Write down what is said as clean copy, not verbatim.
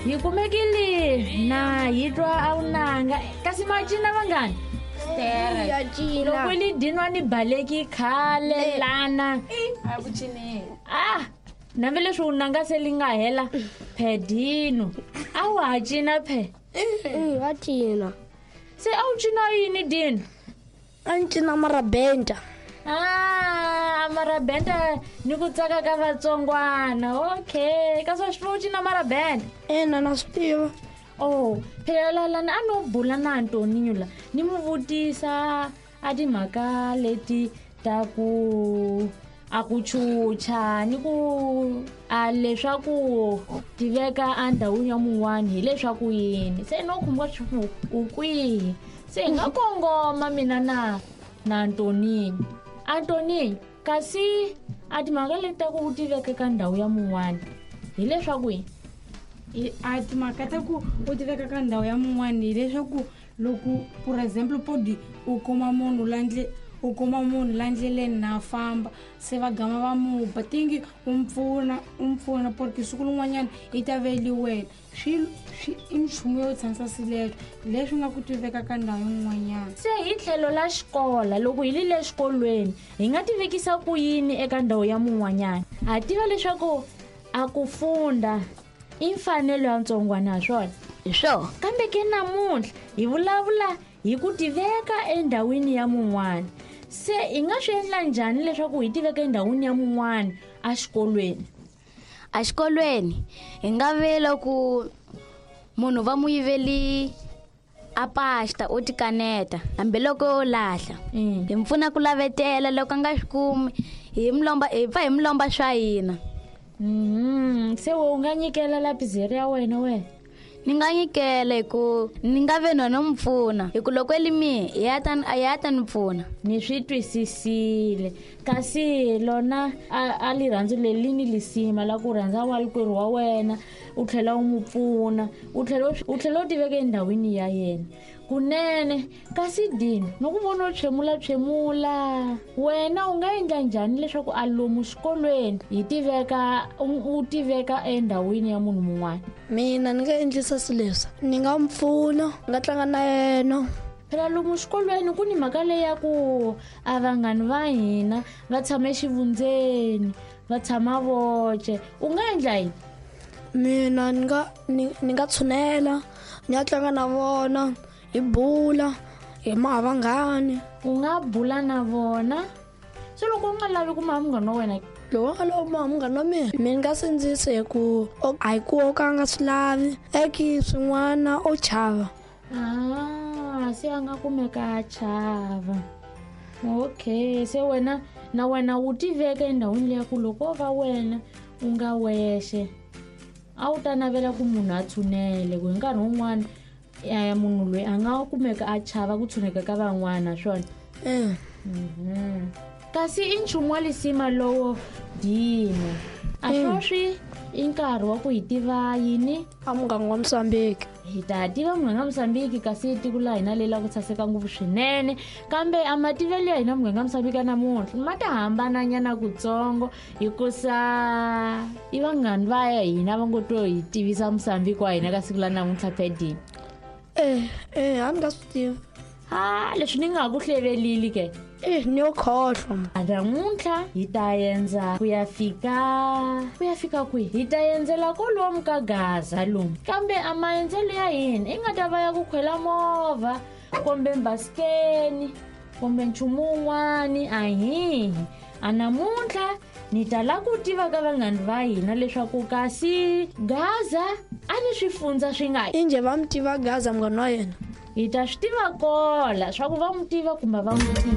Hi kumekile na hi twa a vunanga kasi ma cina vanghani Ya cina. Loko li dinwa ni baleki khale lana. A ku cineli. Ah, nambe leswi vunanga se li nga hela phedino a wa ha cina phe. Wa cina. Se a wu cina yini dino? A ni cina marabenta. Ah, marabenta ni ku tsaka ka vatsongwana. Okay, kasi wa swi tiva u cina marabenta? Ina, na swi tiva. Oh, phela lalani a no bula na Antoninho la ni mu vutisa a timhaka leti ta ku a ku chucha ni ku a leswaku tiveka endhawini ya mun'wani hileswaku yini se no khumbuka swa ku u kwihi se hi nga kongoma mina na Antoninho. Antoninho, kasi a timhaka leti ta ku u tiveka ka ndhawu ya mun'wani hileswaku yini? A timhaka ta ku u tiveka ka ndhawu ya mun'wani hileswaku loko for example podi u kuma munhu la u kuma munhu la ndleleni na famba se va gama va mu ba tingi u mpfuna porque siku rin'wanyana yi ta veli wena swi i nchumu yo tshamisa sileswo leswi nga ku tiveka ka ndhawu yin'wanyana. Se hi tlhelo la xikola loko hi li le xikolweni hi nga tivekisa ku yini eka ndhawu ya mun'wanyana? Ha tiva leswaku a ku funda i mfanelo ya ntsongwana swona. Hi swona. Kambe ke namuntlha hi vulavula hi ku tiveka endhawini ya mun'wana. Se hi nga swi endla njhani leswaku hi tiveka endhawini ya mun'wana exikolweni? Exikolweni hi nga vela ku munhu va mu yiveli a pasta o tikaneta hambiloko o lahla. Hi mpfuna ku lavetela loko a nga swi kumi hi mulomba hi pfa hi mulomba swa hina. Se we u nga nyikela lapizeri ya wena wena? Ni nga nyikela hi ku ni nga ve no mu pfuna hi ku loko li mi ya ta ni pfuna. Ni swi twisisile kasi lona a lirhandzu leri li ni lisima la ku rhandza walikwerhu wa wena u tlhela u mu pfuna u tlhela u tiveka endhawini ya yena kunene. Kasi Dino no ku vona u tshwemula wena u nga endla njhani leswaku a lomu xikolweni hi tiveka u tiveka endhawini ya munhu mun'wana? Mina ni nga endlisa swileswi, ni nga mpfuna, ni nga tlanga na yena. Phela lomu xikolweni ku ni mhaka leyi ya ku a vanghani va hina va tshama exivundzeni va tshama voce, u nga endla yini? Mina ni nga tshunela ni ya tlanga na vona hi bula hi maha vanghani. U nga bula na vona? Se loko u nga lavi ku maha munghana wa wena? Loko u nga lavi ku maha munghana wa mina, mina nga sindzisi hi ku a hi ku o ka a nga swi lavi eki swin'wana o chava. Ah, se a nga kumeka a chava. Okay, se wena na wena u tiveka endhawini leya ku loko o va wena u nga wexe a wu ta navela ku munhu a tshunele ku hi nkarhi wun'wana ya munhu loyi a nga kumeka a chava ku tshuneka ka van'wana swona. Kasi i nchumu wa lisima lowo Dino. A sweswi i nkarhi wa ku hi tiva yini? A muganga wa Mozambique. Hi ta tiva muganga wa Mozambique kasi tiko la hina leri la ku saseka ngopfu swinene kambe a mativelo ya hina muganga wa Mozambique namuntlha ma ta hambananyana kutsongo hikusa i vanghani va ya hina va ngo to hi tivisa Mozambique wa hina ka siku la namuntlha phedini. A ni nga swi tivi. Ah, leswi ni nga ku hlevelili ke. Ni yo khohlwa. Namuntlha hi ta endza ku ya fika kwihi? Hi ta endzela kolomu ka Gaza lomu. Kambe a maendzelo ya hina i nga ta va ya ku khwela movha kumbe mbasikeni kumbe nchumu wun'wani a hihi. A namuntlha ni ta la ku tiva ka vanghani va hina leswaku kasi Gaza a ni swifundza swi nga. Injhe va mi tiva Gaza munghana wa yena? Hi ta swi tiva kola swa ku va mu tiva kumbe va n'wi tivi.